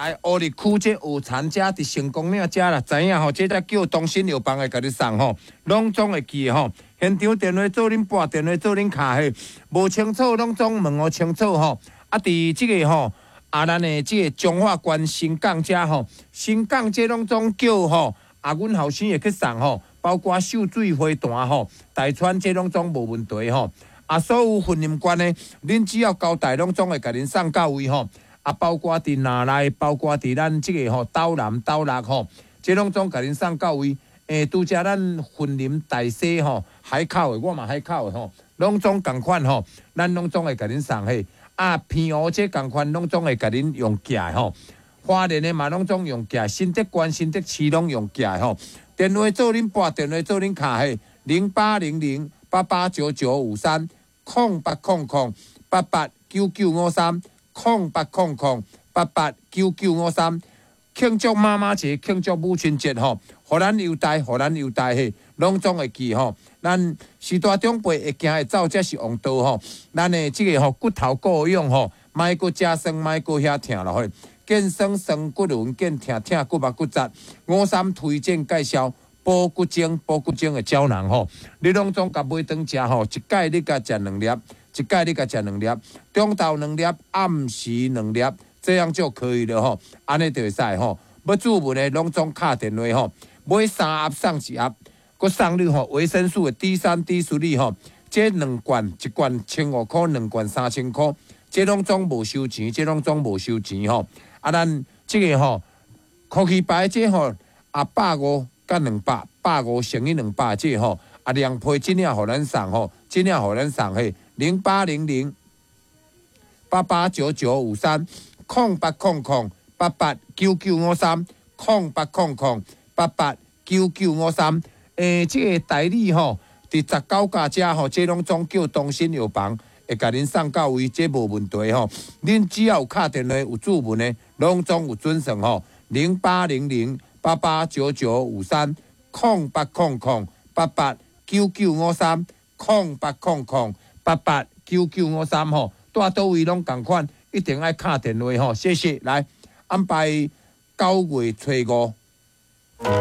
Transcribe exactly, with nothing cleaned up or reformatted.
來烏日區這烏田遮佇成功嶺遮啦，知影吼？這才叫東新藥房會共你送吼，攏總會記吼。現場電話做恁撥電話做恁敲嘿，無清楚攏總問予清楚吼。啊，佇這個吼，啊，咱的這個彰化縣新港遮吼，新港這攏總叫吼，啊，阮後生會去送吼，包括秀水花壇吼，大川這攏總無問題吼。啊，所有雲林縣的，恁只要交代，攏總會共恁送到位吼。啊，包括佇南內，包括佇咱這個吼斗南、斗六吼，這攏總共恁送到位。欸，拄才咱雲林大溪吼海口的，我嘛海口的吼，攏總仝款吼，咱攏總會共恁送去。啊，澎湖這仝款攏總會共恁用寄的吼。花蓮的嘛攏總用寄，新竹縣、新竹市攏用寄的吼。電話做恁撥，電話做恁敲嘿，零八零零八八九九五三，空八空空八八九九五三，空八空空八八九九五三。慶祝媽媽節，慶祝母親節吼，予咱優待，予咱優待嘿，攏總會記吼。咱序大長輩會行會走，才是王道吼。咱的這個吼骨頭顧養吼，莫閣食酸，莫閣遐疼落去。健酸酸骨輪，健疼疼骨目骨節。五三推薦介紹補骨精，補骨精的膠囊吼，你攏總共買轉食吼，一擺你共食兩粒，一擺你共食兩粒，中晝兩粒，暗時兩粒。這樣就可以了吼，按呢就會使吼。欲注文的攏總敲電話吼，買三盒送一盒，閣送你吼維生素的 D 三、D 四吼，這兩罐一罐千五箍，兩罐三千箍，這攏總無收錢，這攏總無收錢吼。啊，咱這個吼，科技牌這吼啊百五佮兩百，百五乘以兩百這吼啊兩批這領予咱送吼，這領予咱送嘿零八零零八八九九五三。空八空空八八九九五三，空八空空八八九九五三。欸，這個代理吼，佇十九家遮吼，這攏總叫東新藥房會共恁送到位，這無問題吼。恁只要有敲電話有注文的，攏總有準算吼。零八零零八八九九五三，空八空空八八九九五三，空八空空八八九九五三吼。蹛佗位攏仝款。一定愛敲電話吼，謝謝。來安排九月初五，